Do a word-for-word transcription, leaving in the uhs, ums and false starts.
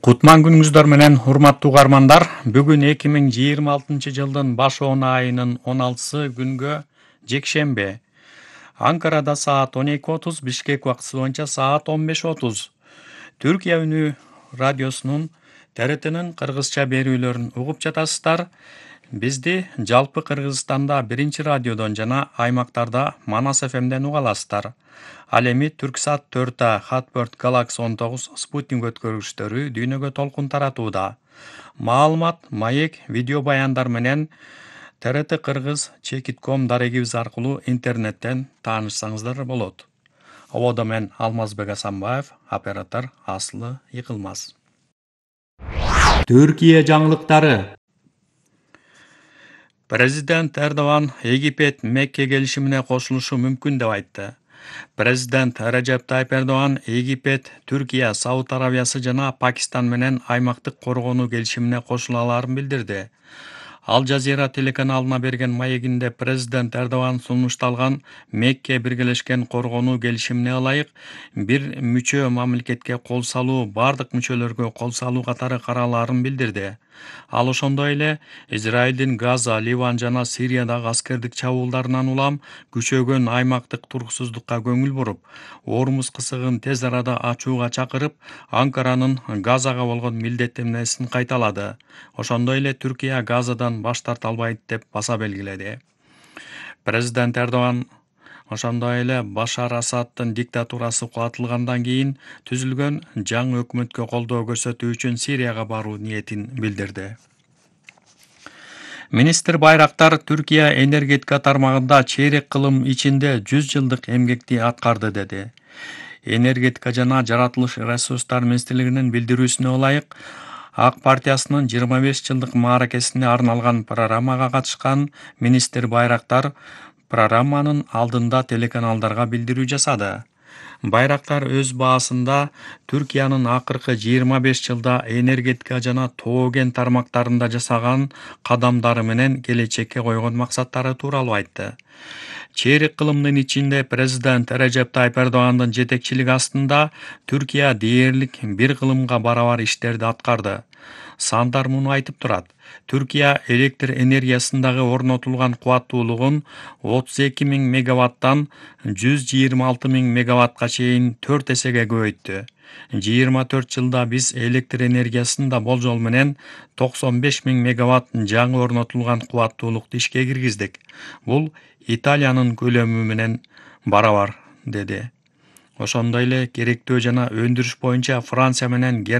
Кутман күнүңүздөр менен урматтуу угармандар. Бүгүн эки миң жыйырма алтынчы жылдын баш он айынын он алтысы күнгө жекшембе. Анкарада саат он эки отуз, Бишкек убактысы боюнча саат он беш отуз. Түркия үнү радиосунун Т Р Т'нин кыргызча берүүлөрүн угуп жатасыздар. Бизди жалпы Кыргызстанда биринчи радиодон жана аймактарда Манас эф эмден уга аласыздар. Ал эми Түрксат төрт А, Хатберт, Галакс он тогуз, Спутник өткөргүчтөрү дүйнөгө толкун таратууда. Маалымат, маек, видео баяндар менен Т Р Т Кыргыз чекит ком дарегибиз аркылуу интернеттен таанышсаңыздар болот. Ободо мен Алмазбек Асанбаев, оператор Асылы Йыкылмаз. Түркия жаңылыктары. Президент Эрдоган Египет Мекке келишимине кошулушу мүмкүн деп айтты. Президент Режеп Тайып Эрдоган Египет, Түркия, Сауд Арабиясы жана Пакистан менен аймактык коргонуу келишимине кошула алаарын билдирди. Ал Жазира телеканалына берген маегинде президент Эрдоган сунушталган Мекке биргелешкен коргонуу келишимине ылайык бир мүчө мамлекетке кол салуу бардык мүчөлөргө кол салуу катары каралаарын билдирди. Ал ошондой эле Израилдин Газа, Ливан жана Сириядагы аскердик чабуулдарынан улам күчөгөн аймактык туруксуздукка көңүл буруп, Ормуз кысыгын тез арада ачууга чакырып, Анкаранын Газага болгон милдеттенмесин кайталады. Ошондой эле Түркия Газадан баш тарта албайт деп баса белгиледи. Президент Эрдоган ошондой эле Башар Асаддын диктатурасы кулатылгандан кийин түзүлгөн жаңы өкмөткө колдоо көрсөтүү үчүн Сирияга баруу ниетин билдирди. Министр Байрактар Түркия энергетика тармагында чейрек кылым ичинде жүз жылдык эмгекти аткарды деди. Энергетика жана жаратылыш ресурстар министрлигинин билдирүүсүнө ылайык, Ак партиясынын жыйырма беш жылдык мааракесине арналган программага катышкан министр Байрактар программанын алдында телеканалдарга билдирүү жасады. Байрактар өз баасында Түркиянын акыркы жыйырма беш жылда энергетика жана тоо кен тармактарында жасаган кадамдары менен келечекке койгон максаттары тууралуу айтты. Чейрек кылымдын ичинде президент Режеп Тайып Эрдогандын жетекчилиги астында Түркия дээрлик бир кылымга барабар иштерди аткарды. Сандар муну айтып турат. Түркия электр энергиясындагы орнотулган кубаттуулугун отуз эки миң мегаваттан жүз жыйырма алты миң мегаватка чейин төрт эсеге көбөйттү. жыйырма төрт жылда биз электр энергиясында болжол менен токсон беш миң мегаватт жаңы орнотулган кубаттуулукту ишке киргиздик. Бул Италиянын көлөмү менен барабар, деди. Ошондой эле керектөө жана өндүрүш боюнча Франция менен Германия